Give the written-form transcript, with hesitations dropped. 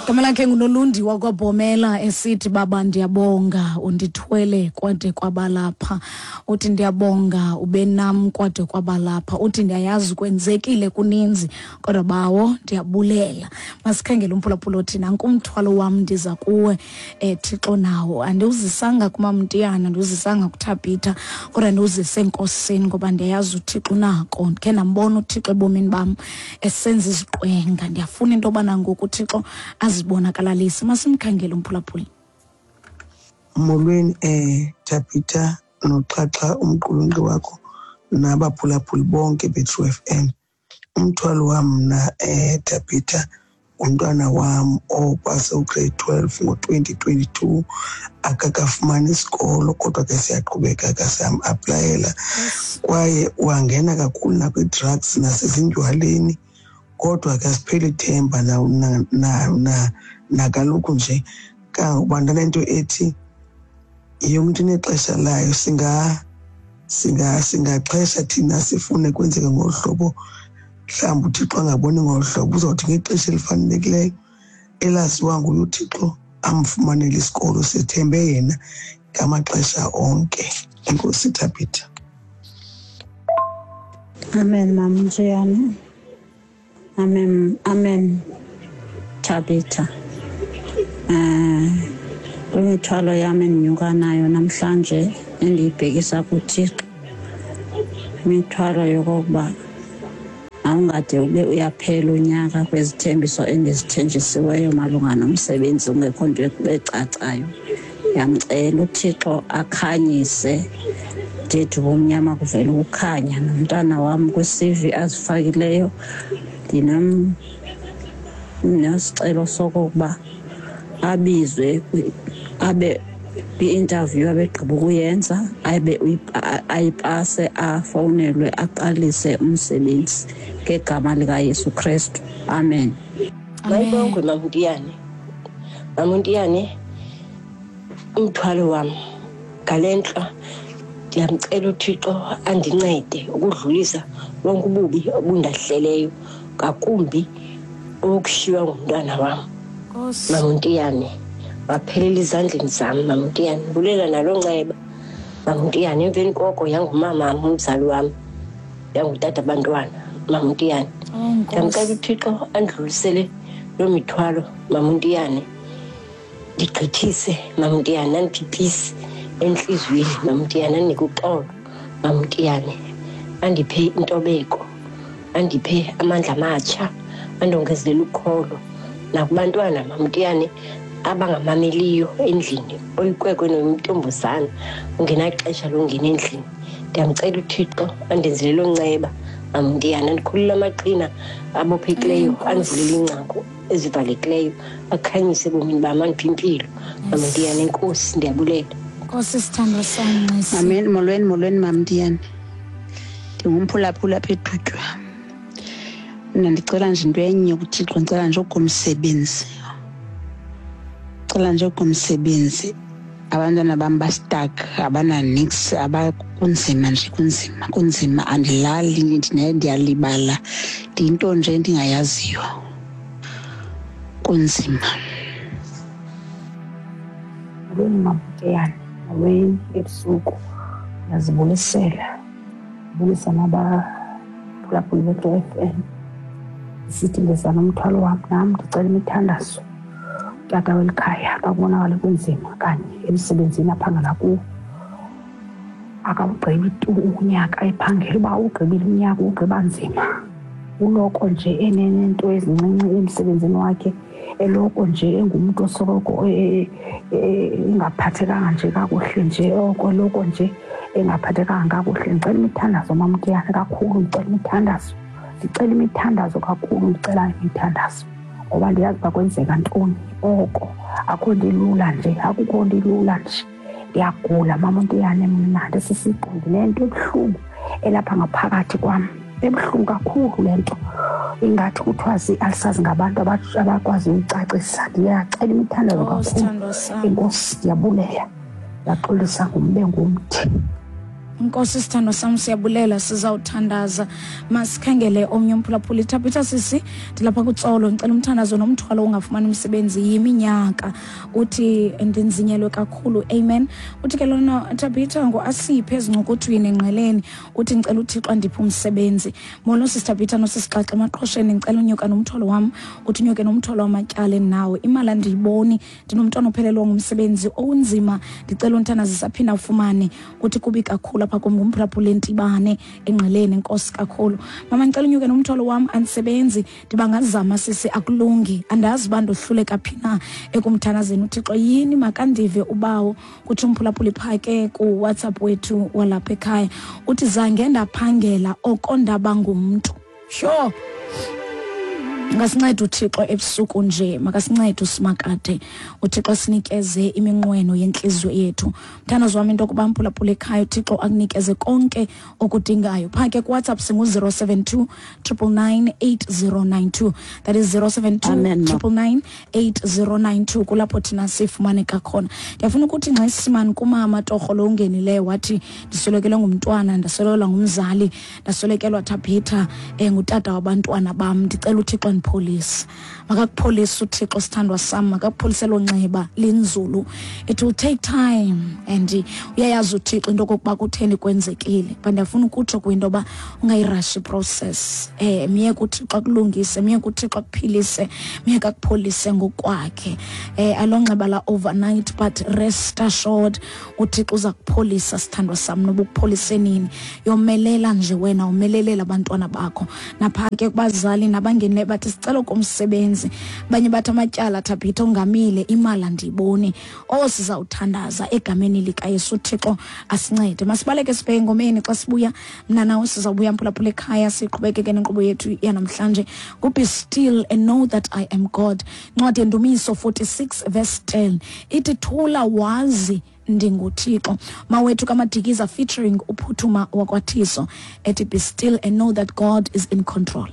Igama lakhe nguNolundi wakwaBhomela esithi baba ndiyabonga undithwele kwade kwabalapha. Uthi ndiyabonga ube nam kwade kwabalapha. Uthi ndiyayazi kwenzekile kuninzi kodwa bawo ndiyabulela. Masikhangele umphulaphula othi nanku umthwalo wam ndiza kuwe eh Thixo nawo. Andiwuzisanga kuMamntiyana, andiwuzisanga kuThabitha kodwa ndiwuzise eNkosini ngoba ndiyayazi uThixo unako. Ndikhe ndambona uThixo ebomini bam esenza iziqwenga. Ndiyafuna into yobana ngoku uThixo azibonakalalise. Masimkhangele umphulaphuli. Molweni Thabitha noXhaxha umqulunqi wakho nabaphulaphuli bonke beTrue FM. Umthwalo wam mna Thabitha ngumntwana wam opase ugrade 12 ngo-2022, akakafumani isikolo kodwa ke siyaqhubeka ke siyam-aplayela. Kwaye wangena kakhulu nakwi-drugs nasezindywaleni, kodwa ke asipheli ithemba nakaloku nje kangokuba ndanento ethi yonke into inexesha layo. Singaxhesha thina sifune kwenzeke ngolu hlobo, mhlawumbi uThixo angaboni ngolu hlobo, uzawuthi ngexesha elifanelekileyo elaziwa nguye uThixo amfumanele isikolo. Sithembe yena ngamaxesha onke. Enkosi Thabitha. Amen, Mama Mjiyane. Amen, amen Thabitha. Kwimithwalo yam endinyuka nayo namhlanje endiyibhekisa kuThixo, imithwalo yokokuba awungade ube uyaphela unyaka kwezithembiso endizithenjisiweyo malunga nomsebenzi ungekho nto ecacayo. Ndiyamcela uThixo akhanyise ndithi ubumnyama kuvele ukukhanya. Nomntana wam kwi-CV azifakileyo ndinesicelo sokokuba abizwe abe kwi-interview abegqiba ukuyenza, abe ayipase, afowunelwe, aqalise umsebenzi ngegama likaYesu Kristu. Amen. Mayibongwe Mamntiyane. Mamntiyane, umthwalo wam ngale ntla ndiyamcela uThixo andincede ukudlulisa bonke ububi obundahleleyo, ngakumbi owokushiywa ngumntwana wam. Mamntiyane, waphelela ezandleni zam Mamntiyane. Bulela naloo nceba Mamntiyane. Emveni koko yangumama wam, umzali wam, yangutata abantwana Mamntiyane. Ndiyamcela uThixo andidlulisele loo mithwalo Mamntiyane, ndigqithise Mamntiyane, andiphe ipisi entliziyweni Mamntiyane, andinike uxolo Mamntiyane, andiphe intobeko, andiphe amandla amatsha, andongezelele ukholo nakubantwana Mamntiyane abangamameliyo endlini, oyikwekwe noyintombazana ungenaxesha longena endlini. Ndiyamcela uThixo andenzele loo nceba Mamntiyane, andikhulule amaqhina abophekileyo, andivulele iingcango ezivalekileyo, akhanyise ebomini bam, andiphe impilo Mamntiyane. Enkosi, ndiyabulela. Nkosi sithandwa sam, Nxesi. Amen. Molweni, molweni Mamntiyane. Ndingumphulaphula apha eDutywa. Mna ndicela nje into enye kuThixo, ndicela nje okomsebenzi. Ndicela nje okomsebenzi. Abantwana bam bastuck, abananix, kunzima nje, kunzima, kunzima. Andilali, ndiyalibala. Ndiyinto nje endingayaziyo. Kunzima. Molweni Mamtiyane, molweni ebusuku. Ndiyazibulisela. Ndibulisa nabaphulaphuli beTrue FM. Ndisithi ndiza nomthwalo wam nam, ndicela imithandazo. Utata weli khaya xa kubonakala kunzima kanye emsebenzini aphangela kuwo, akawugqibi tu unyaka ephangela. Uba uwugqibile unyaka, uwugqiba nzima. Uloko nje enento ezincinci emsebenzini wakhe, eloko nje engumntu osoloko engaphathekanga nje kakuhle nje, oko eloko nje engaphathekanga kakuhle. Ndicela imithandazo Mamtiyane kakhulu, ndicela imithandazo, ndicela imithandazo kakhulu, ndicela imithandazo ngoba ndiyazi uba kwenzeka ntoni. Oko akukho nto ilula nje, akukho nto ilula nje. Ndiyagula Mamtiyane mna, ndisisiqu, ndinento ebuhlungu elapha ngaphakathi kwam, ebuhlungu kakhulu le nto. Ingathi kuthiwa zii-ulcers ngabantu abakwaziyo uyicacisa. Ndiyacela imithandazo kakhulu. Sithandwa sam. Enkosi, ndiyabulela. Ndiyaxolisa ngumbe ngumthi. Nkosi sithandwa sam, siyabulela, sizawuthandaza. Masikhangele omnye umphulaphuli. Thabitha sisi, ndilapha kuTsolo, ndicela umthandazo nomthwalo ungafumani umsebenzi yiminyaka. Uthi ndinzinyelwe kakhulu. Amen. Uthi ke lona Thabitha nguAsiphe ezincukuthwini engqeleni. Uthi ndicela uThixo andiphe umsebenzi. Molo sisi Thabitha nosisixaxa emaqhosheni, ndicela unyuka nomthwalo wam. Uthi unyuke nomthwalo wamatyala endinawo. Imali andiyiboni, ndinomntwana ophelelwa ngumsebenzi owunzima, ndicela unthandazisa aphinde afumane. Uthi kubi kakhulu apha kum. Ngumphulaphula entibane engqeleni. Enkosi kakhulu mama, ndicela unyuke nomthwalo wam, andisebenzi. Ndibangazama sisi, akulungi, andazi uba ndohluleka phi na ekumthandazeni uThixo. Yini makandive ubawo, kutsho umphulaphuli phaa ke kuWhatsApp wethu walapha ekhaya. Uthi zange ndaphangela oko ndaba ngumntu. Sure, ngasinceda uThixo ebusuku nje, makasincede usimakade uThixo, sinikeze iminqweno yentliziyo yethu. Mthandazo wam into yokuba mphulaphula ekhaya, uThixo akunikeze konke okudingayo. Phaa ke kuWhatsApp singu-072 999 8092, that is 072 Amen, ma. 999 8092, kulapho thina sifumaneka khona. Ndiyafuna ukuthi ngxesimani kumama torho lo ungenileyo, wathi ndiswelekelwe ngumntwana, ndaswelekelwa ngumzali, ndaswelekelwa Thabitha ngutata wabantwana bam, ndicela uThixo andipholise. Makakupholise uThixo sithandwa sam, makakupholise elo nxeba linzulu. It will take time and uyayazi uThixo into okokuba kutheni kwenzekile, but ndiyafuna ukutsho kwinto yoba ungayi-rushi process. Myeke uThixo akulungise, myeke uThixo akuphilise, myeke akupholise ngokwakhe. Alonxeba la overnight, but rest assured uThixo uza kupholisa sithandwa sam, noba ukupholise nini. Yomelela nje wena, umelelele abantwana bakho. Napha ke kubazali nabangenileyo bathi sicela komsebenzi, abanye bathi amatyala Thabitha ongamile, imali andiyiboni. Oh, sizawuthandaza egameni likaYesu, uThixo asincede. Masibaleke sibheke engomeni. Xa sibuya mna nawe sizawubuya mphulaphula ekhaya, siqhubekeke nenkqubo yethu yanamhlanje. Ngu-Be Still and Know That I Am God. Ncwadi yeNdumiso 46 verse 10 ithi thula wazi ndinguThixo. Mawethu kaMadikiza featuring uPhuthuma wakwaThiso ethi Be Still and Know That God Is in Control.